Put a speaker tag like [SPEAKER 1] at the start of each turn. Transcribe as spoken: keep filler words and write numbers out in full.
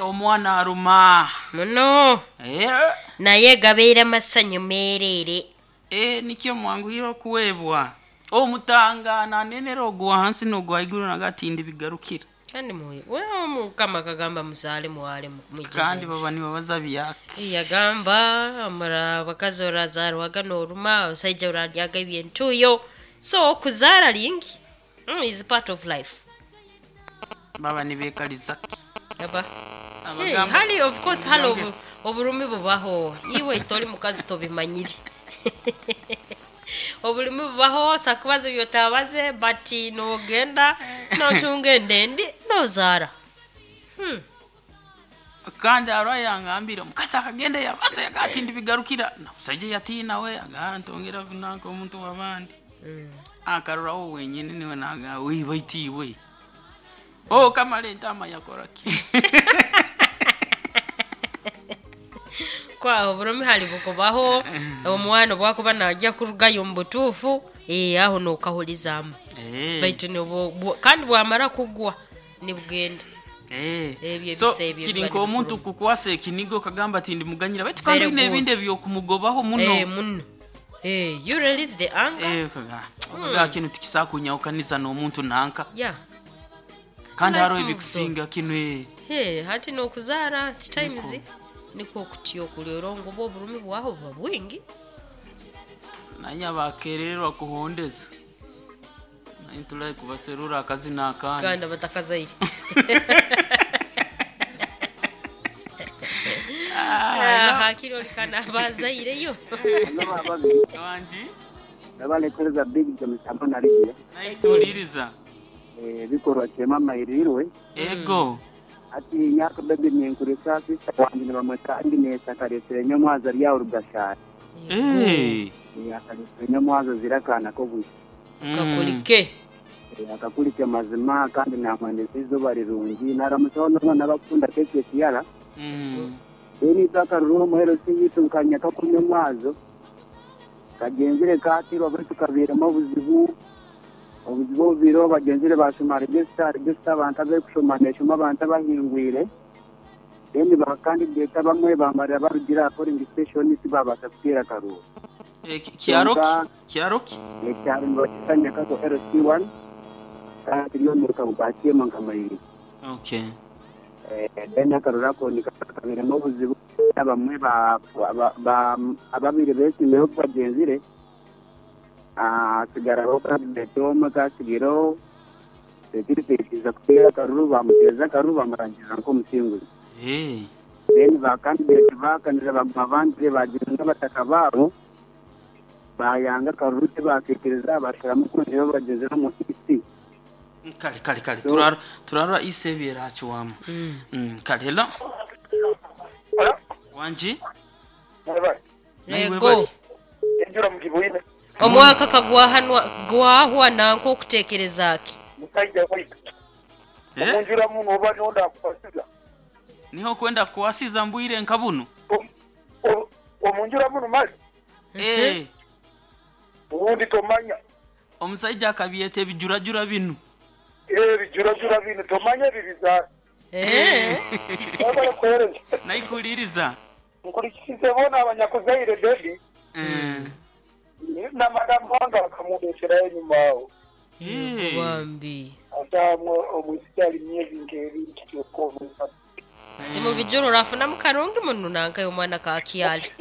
[SPEAKER 1] Omwana aruma.
[SPEAKER 2] Muno.
[SPEAKER 1] Eh,
[SPEAKER 2] Naye gabeera masanyu meereere.
[SPEAKER 1] Eh, nikyo mwanguhire okuweebwa omutanga nanenera ogwa hansi n'ogwa haiguru nagatindi bigarukira.
[SPEAKER 2] Kandi muwe wewe mukama kagamba muzaale mwale mwijjuze
[SPEAKER 1] Kandi
[SPEAKER 2] ensi.
[SPEAKER 1] baba nibabaza byake.
[SPEAKER 2] Yagamba mura abakazi orazaarwaga n'oruma, abasaija oraryaga ebyentuuyo, so okuzaara lingi mm, is part of life.
[SPEAKER 1] Baba nibekaliza ki?
[SPEAKER 2] Aba. Hey,
[SPEAKER 1] Abagamba
[SPEAKER 2] hali of course hali
[SPEAKER 1] Mugambe.
[SPEAKER 2] obu, oburumi bubaho, iwe toli mukazi tobimanyire. Obulumi bubaho, sakubaza ebyotabaze, but nogenda notunga endendi nozaara. Hmm.
[SPEAKER 1] Kandi arwa yangambire omukazi akagenda yabaza yagatindi bigarukira na musaija yatiina we aga ntongera nanka omuntu w'abandi.
[SPEAKER 2] Mm.
[SPEAKER 1] Akaroraho wenyini niwe naga wiba itiwe oh kamara entama yakora ki?
[SPEAKER 2] Kwaho oburumi hali bukubaho, omwana obwakuba najya kurugayo omu butuufu, eh, aho nokahulizamu.
[SPEAKER 1] Eh.
[SPEAKER 2] Baitu nibu- bwa- kandi bwamara kugwa nibugenda.
[SPEAKER 1] Eh.
[SPEAKER 2] Ebyo
[SPEAKER 1] So
[SPEAKER 2] ebisa ebyo
[SPEAKER 1] kiri
[SPEAKER 2] biba
[SPEAKER 1] nk'omuntu
[SPEAKER 2] nibikuruma.
[SPEAKER 1] kukwasa ekiniga okagamba ati ndimuganyira baitu kandi
[SPEAKER 2] Very
[SPEAKER 1] oyine ebindi
[SPEAKER 2] good.
[SPEAKER 1] ebyokumugobaho muno.
[SPEAKER 2] Eh, muno. Eh, you release the anger.
[SPEAKER 1] Eh, kaga okaga kinu tikisakunyahukaniza n'omuntu nanka.
[SPEAKER 2] Yeah.
[SPEAKER 1] Kandi
[SPEAKER 2] Life
[SPEAKER 1] hariho
[SPEAKER 2] moves on.
[SPEAKER 1] ebikusinga kinu eh.
[SPEAKER 2] Hey, hati nokuzaara times niko kutyo okulera ngoba oburumi bwaho buba bwingi.
[SPEAKER 1] Nanye abakerererwa kuhondeza naye ntulaye kubaserura akazina akandi.
[SPEAKER 2] Kandi abatakazaire.
[SPEAKER 1] Ah,
[SPEAKER 2] Hakiri olikana abazaireyo.
[SPEAKER 1] Wanji
[SPEAKER 3] Nabalekereza big jamisambo narigiye.
[SPEAKER 1] Naye tuwuliriza.
[SPEAKER 3] Ebikorwa kyema mairirwe.
[SPEAKER 1] Ego.
[SPEAKER 3] Ati nyaka bebe nenkuresa sister wange nibamweta Agnes akaresire nyamwaza ryawe rugashara.
[SPEAKER 1] Eh.
[SPEAKER 3] Akaresire nyamwaza zirakana ko bwisi.
[SPEAKER 1] Mm.
[SPEAKER 2] Kakulike.
[SPEAKER 3] Akakulike mazima kandi namwendeza izuba rirungi naramusaho n'omwana bakunda keke kiyara.
[SPEAKER 1] Mm.
[SPEAKER 3] Then itaka rumo hero siyitu nkanya kakunywa mwazo. Kagenzire katirwa baitu kabiremo obuzibu. Obuzibu obubiro bagenzire bashoma register, register abantu abekushoma neshoma abantu abahingwire. Then ba candidate bamwe bamarira barugira polling station tibabasha kuteera akaruuru.
[SPEAKER 1] Eh, ki- kyaro ki?
[SPEAKER 3] Kyonka
[SPEAKER 1] Kyaro ki?
[SPEAKER 3] ekyaro nibakisanya kako L C one kandi turiyo omuruka gwa Kyema nkamayiri.
[SPEAKER 1] Okay.
[SPEAKER 3] Eh, then akaruru ako nikakabiremu obuzibu abamwe ba, ba, ba, ababiri beesimeho bagenzire hasigaraho candidate omwe kasigireho tetirikwikiriza kuteera akaruru bamuteeza akaruru bamurangiza nk'omusinguzi.
[SPEAKER 1] Eh.
[SPEAKER 3] Then ba candidate bakanira baguma bandire bagira n'abataka baabo bayanga akaruru tibakiikiriza bashiramu kwongyeraho bagyenzire omu E C.
[SPEAKER 1] Kale kale kale
[SPEAKER 3] So,
[SPEAKER 1] turara turara isebi erakiwamu.
[SPEAKER 2] Mm.
[SPEAKER 1] Mm, kale hello.
[SPEAKER 4] Hello?
[SPEAKER 1] Wanji?
[SPEAKER 4] Mwebale.
[SPEAKER 1] Naiwe
[SPEAKER 2] Ego.
[SPEAKER 1] bali.
[SPEAKER 4] Enjura mugibwine.
[SPEAKER 2] Omwaka kagwahanwa gwahwa nanka okutekereza ki?
[SPEAKER 4] Musajja waitu.
[SPEAKER 1] Eh?
[SPEAKER 4] Omunjura muno oba nonda akukwasiza.
[SPEAKER 1] Niho kwenda kuwasiza mbwire nka buno.
[SPEAKER 4] Omunjura muno mali.
[SPEAKER 1] Eh.
[SPEAKER 4] Ubundi tomanya.
[SPEAKER 1] Omusajja akabyeta ebijurajura binu.
[SPEAKER 4] Eh, bijurajura binu tomanya ebibizaara.
[SPEAKER 2] Eh.
[SPEAKER 4] Mwebale kuheereza.
[SPEAKER 1] Naikuliriza.
[SPEAKER 4] Nkulikize bona abanyakuzaire baby.
[SPEAKER 1] Eh.
[SPEAKER 4] Na madamu wange akamundeterayo enyuma aho.
[SPEAKER 1] Eh.
[SPEAKER 2] Bambi.
[SPEAKER 4] Ate omwisiki ali myezi nk'ebiri kityo omwisatu.
[SPEAKER 2] Timubijura orafunamu karungi muno nanka omwana kakyali.